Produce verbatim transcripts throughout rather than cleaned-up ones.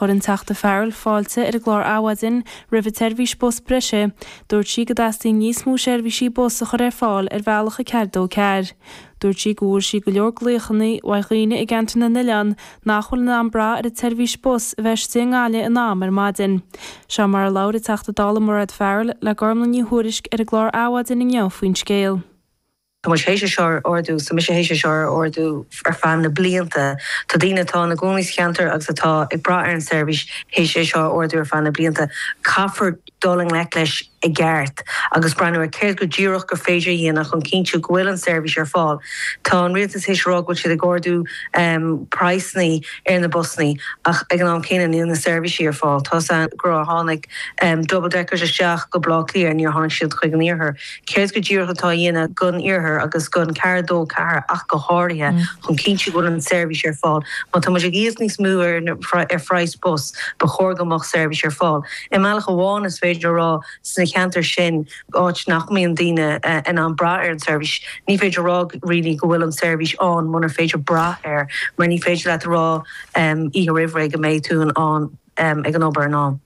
Chuir an Teachta Farrell fáilte ar an gclár Adhmhaidin roimh an tseirbhís bus breise, dúirt sí go dteastaíonn níos mó seirbhísí bus a chur ar fáil ar bhealach a ceathair dó ceathair. Dúirt sí go bhfuair sí go leor glaochanna ó dhaoine i gceantar na n-oileán nach bhfuil in ann brath ar an tseirbhís bus a bheith istigh i nGaillimh in am ar maidin. Seo mar a labhair an Teachta Dála Mairéad Farrell le Gormlaith Ní Thuairisg ar an gclár Adhmhaidin inniu faoin scéal. Tá muid théis é seo a ardú, so mise théis é seo a ardú ar feadh na blianta. Tá daoine atá ina gcónaí sa cheantar agus atá ag brath ar an seirbhís théis é seo a ardú ar feadh na blianta. Caithfear dul i ngleic leis i gceart agus breathnú ar céard go díreach gur féidir a dhéanamh chun cinntiú go bhfuil an seirbhís ar fáil. Tá an rialtas théis rá go bhfuil siad ag ardú um, praghsanna ar na busanna ach ag an am céanna níl na seirbhísí ar fáil. Tá gur tháinig um, double deckers isteach go Baile Átha Cliath níor tháinig siad chuig an iarthar. Céard go díreach atá á dhéanamh don iarthar agus don ceathair dó ceathair ach go háirithe mm. chun cinntiú go bhfuil an seirbhís ar fáil. Má tá muid ag íoc níos mó ar ar phraghas bus ba chóir go mbeadh seirbhís ar fáil. I mbealach amháin is féidir rá sna ceantair sin áit nach mbíonn daoine uh, in ann brath ar an seirbhís. Ní féidir rá really go bhfuil an seirbhís ann munar féidir brath air, mar ní féidir leat rá um, oíche roimh ré go mbeidh tú an um, ag an obair an am.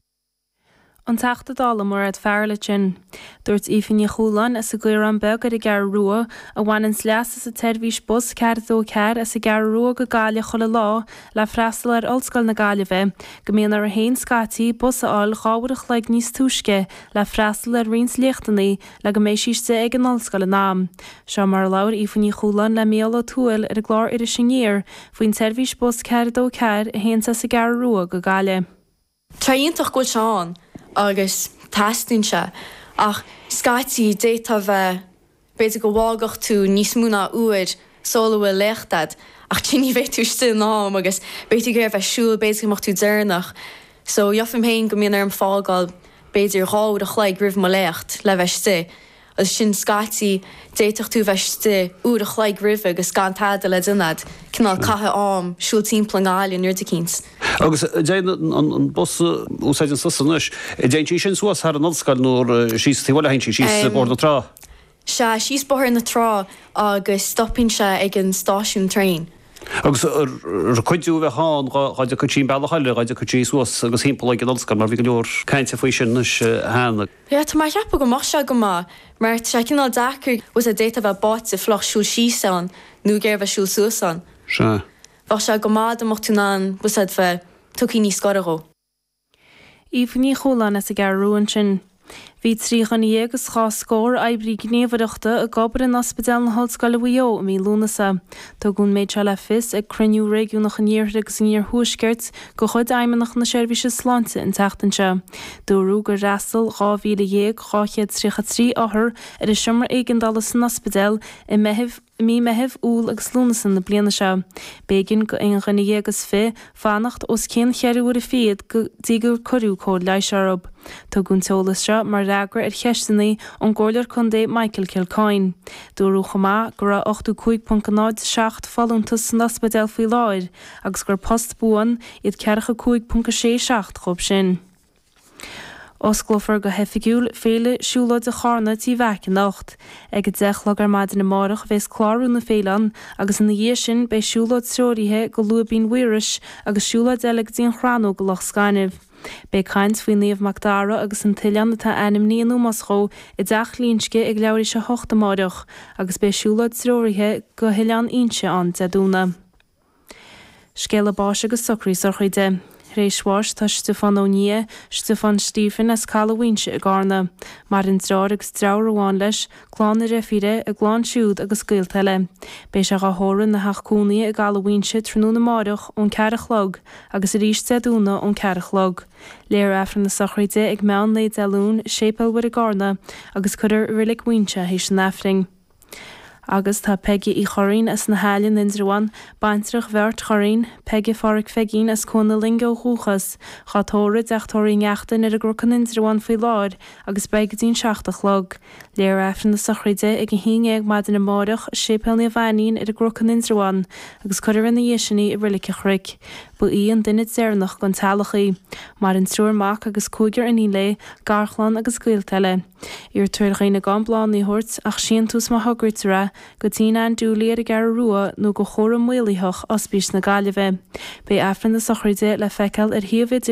An Teachta Dála Mairéad Farrell sin. Dúirt Aoife Ní Chualáin as an gCaorán Beag ar an gCeathrú Rua a bhaineann leas as an tseirbhís bus ceathair dó ceathair as an gCeathrú Rua go Gaillimh chuile lá le freastal ar Ollscoil na Gaillimhe, go mbíonn uirthi féin scaití bus a fháil dhá uair a chloig níos túisce le freastal ar roinnt léachtanna le go mbeidh sí istigh ag an ollscoil in am. Seo mar a labhair Aoife Ní Chualáin le Mícheál Ó Tuathail ar an gclár Iris Aniar faoin tseirbhís bus ceathair dó ceathair a théann as an gCeathrú Rua go Gaillimh. Tá iontach go bhfuil sé ann agus teastaíonn sé ach scaití d'fhéadfá bheith b'fhéidir go bhfágfadh tú níos mó ná uair sula bhfuil léacht agat ach tí ní bheidh tú istigh in am agus b'fhéidir go bheith siúl b'fhéidir go mbeadh tú deireanach. So gheofaim féin go mbíonn orm fágáil b'fhéidir dhá uair a chloig roimh mo léacht le bheith istigh. Agus sin scaití d'fhéadfadh tú bheith istigh uair a chloig roimhe agus gan tada le déanamh, cineál caitheamh am siúl timpeall an Ghaillimh nuair eicínt. Agus dtéann an bus úsáideann tusa anois, dtéann sí sin suas thar an ollscoil nó síos taobh le sí síos Bóthar na Trá. Sea síos Bóthar na Trá agus stopann sé ag an stáisiún traein. Agus ar cuidiú bheith ann dá dtiocfadh sí an bealach eile dá dtiocfadh sí suas agus timpeall ag an ollscoil mar bhí go leor cainte faoi sin anois cheana. Ja tá mé ag ceapadh go mbeadh sé go maith mar tá sé cineál deacair was a d'fhéadfá bheith báite fliuch siúl síos ann nó géar bheith siúl suas ann. Sea. Bheadh sé go maith dá mbeadh tú in ann was bheith tugtha níos gaire dhó. Aoife Ní Chualáin as an gCeathrú Rua ansin. Bhí trí dhuine dhéag agus dhá scór oibrí gníomhaireachta ag obair in Ospidéal na hOllscoile Mhaigh Eo i mí Lúnasa. Tugadh an méid seo le fios ag cruinniú réigiúnach an Iarthair agus an Iarthuaiscirt de chuid Fheidhmeannacht na Seirbhíse Sláinte an tseachtain seo. Dúradh gur fhreastail dhá mhíle dhéag dhá chéad tríocha trí othar ar an seomra éigeandála san ospidéal i Meitheamh mí Meitheamh, Iúil agus Lúnasa na bliana seo. B'éigean do aon dhuine dhéag is fiche fanacht os cionn cheithre huaire fichead go dtí gur cuireadh cóir leighis orthu. Tugadh an t-eolas seo mar fhreagra ar cheisteanna ón gComhairleoir Contae Michael Kilcoyne. Dúradh chomh maith go raibh ochtó cúig ponc náid seacht folúntas san ospidéal faoi láthair agus gur post buan iad ceathracha cúig ponc a sé seacht díobh sin. Osclófar go hoifigiúil Féile Siúlóide Charna Tí Mheaic anocht. Ag a deich a chlog ar maidin amárach a bheas clárú na féile ann agus ina dhiaidh sin beidh siúlóid treoraithe go Lúibín Mhaorais agus siúlóid eile go dtí an Chrannóg i Loch Scainnimh. Beidh caint faoi Naomh Mac Dara agus an t-oileán atá ainmnithe in ómós dhó i dTeach Ghlinsce ag leathuair tar éis a hocht amárach agus beidh siúlóid treoraithe go hOileán Inse ann Dé Domhnaigh. Scéala báis agus socraí sochraide. Tar éis bháis tá Stiofán Ó Nia, Stiofán Stephen as Caladh Mhaínse i gCarna. Maireann deartháir agus deirfiúr amháin leis, clann a dheirfíre, a gclann siúd agus gaolta eile. Beidh sé á thórramh ina theach cónaithe i gCaladh Mhaínse tráthnóna amárach ón ceathair a chlog agus arís Dé Domhnaigh ón ceathair a chlog. Léifear Aifreann na sochraide ag meán lae Dé Luain, Séipéal Mhuire i gCarna agus cuirfear i Reilig Mhaínse théis an Aifrinn. Agus tá Peige Uí Churraoin as na hAille in Indreabhán, baintreach Bheáirt Churraoin, Peige Pháraic Pheigín as Cuan na Loinge ó dhúchas, dhá tórramh i dTeach Tórraimh Uí Neachtain ar an gCnoc in Indreabhán faoi láthair agus beidh go dtí an seacht a chlog. Léifear Aifreann na sochraide ag a haon déag maidin amárach, Séipéal Naomh Ainnín ar an gCnoc in Indreabhán, agus cuirfear ina dhiaidh sin í i Reilig an Chnoic. Ba í an duine deireanach den teaghlach í. Maireann triúr mac agus cúigear iníon léi, garchlann agus gaolta eile. Iarrtar ar dhaoine gan bláthanna a thabhairt ach síntiús má thograítear é, go dtí Ann Dooley ar an gCeathrú Rua nó go chúram maolaitheach Ospís na Gaillimhe. Beidh Aifreann na sochraide le feiceáil ar shuíomh